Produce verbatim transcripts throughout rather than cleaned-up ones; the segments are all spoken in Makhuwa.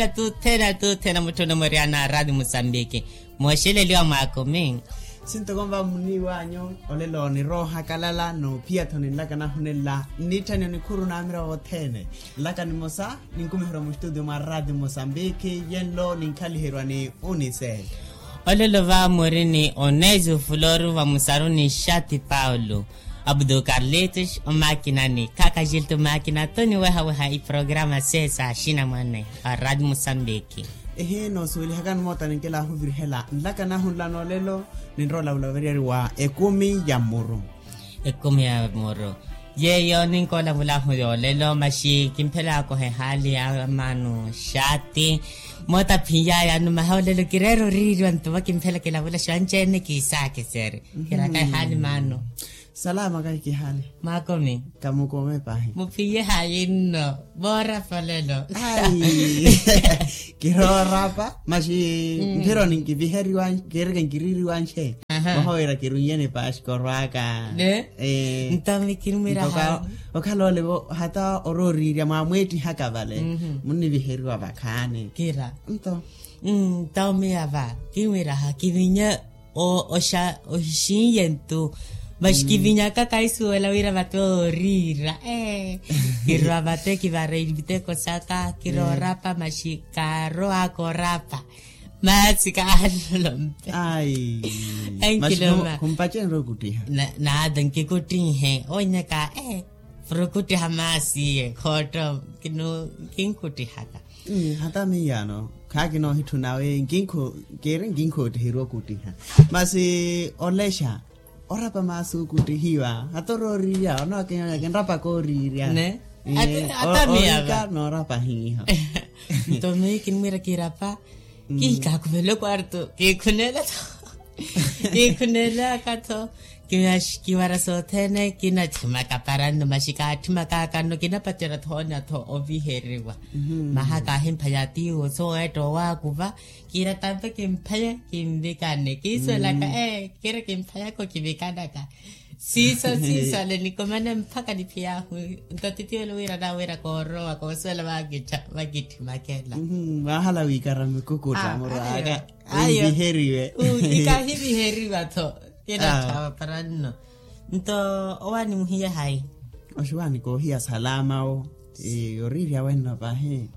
Tuthena tuthena mutthu onamwerya na radio musambiki. Mooxeleliwa mwaakumi. Sintokomva muniiwanyu. Olelo niroohakalala noophiya-tho ninlaka nahunenla nnitthanyo nikhuru naamira vothene. Nlaka nimosa ninkumiherwa mustudio mwa radio musambiki yenlo ninkhaliheriwa ni unise. Olelo va muri ni onezu fulori vamusaru ni xati paulo, abdu carlitos omakinani kakajilto makina toniwehaweha iprograma sesa xinamwane a radio musambiki. Ehi noosuwelihakani moota ninkilahuvirihela nlaka nahunla noolelo. Ninrola vulaveriyari wa ekumi ya muru. Ekumi ya muru. Yeeyo ninkoolavulahu yoolelo maxi kimphelaka ohehaali ya maanu xati. Moota phiyaya numaha olelo kireera oriiriwa nto vakimphela kilavula xanci-ene kiisaakiseri. Kiraka ehaali maano. Salama kahi kihaali. Mwakomi. Kamukomi pahi. Muphiye hayi nno. Voorapa olelo. Kiroorapa maxi mphironi nkiviheriwa. Kereke nkiririwa nxe. Moha wira kirunyeni paxi korwaka. Nto mikinumwiraha. Okhala olevo hata orooriirya mwamweettihaka vale. Munniviheriwa vakhaani. Kira. Nto. Nto miya va kinwiraha kivinya. Oxinye ntu. Maxi kivinyaka kaisuwela wira vate ooriira. Kirwa vate kivara iviteko saka kiroorapa maxi kaarowaka orapa. Maasi kaanlolompe. Ai. Enkiloma. Khumpacenre okuttiha. Naata nkikuttihe onyaka. Puro okuttiha maasi iye khootto. Kinkhuttihaka. Hata miyaano khaakina ohitthuna we nkinkho. Kiri nkinkhoottiherya okuttiha. Masi olexa orapa maasi okuttihiwa hata orooriirya onookinrapaka ooriirya. Hata miya va noorapa hiiho. Nto miyo kinimwiira kirapa. Kiikakhuvela okwarto kiikhunela tho. Kiikhunelaka tho. Kiwara sothene kinathimaka para nno maxi kaatthimaka kanno kinapacerya thoonya tho oviheriwa. Maha kaahimphaya tiiwo soweetta owaakuva. Kiira tampe kimpheye kinvikane kiisuwelaka ee kiri kimphayaka okivikanaka. Siiso siiso ale nikomane mpakha niphiyahu. Nto titiwelo wira nawira koorowa koosuwela vakithimakela. Mwahala wiikara mikukutta murwaka. Ayo. Wiviheriwe. Kikahiviheriwa tho. Kinatthawa para nno. Nto owaani muhiye hayi? Oxiwaani koohiya salama wo. Oriirya wenno pahi.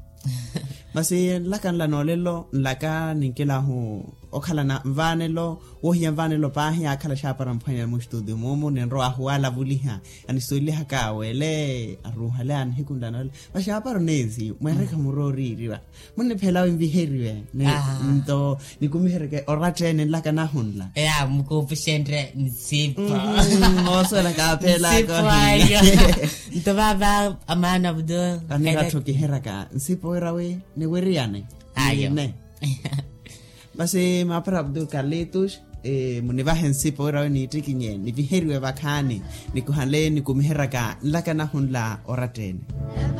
Masi nlaka nla noolelo nlaka ninkilahu okhalana nvaanelo. Woohiya nvaanelo paahi yaakhala xaapara mphwanya mustudio muumu ninrowahu waalavuliha. Anisuwelelihaka wele aruuhale a nihiku nla noolelo. Masi aapara oneezi mweereke murooriiriwa. Munniphela winviheriwe. Nto nikumihereke oratta ene nlaka nahunla. Eya mukuupuxenrye nsipo. Oosuwela kaaphelaka ohiya. Nto vaava amaana vuto. Kanirattho kiheraka nsipo wira wi niwiriyane. Ayo. Masi maapara abdu carlitos. Munivahe nsipo wira wi niittikinye niviheriwe vakhaani. Nikuhanle nikumiheraka nlaka nahunla oratta ene.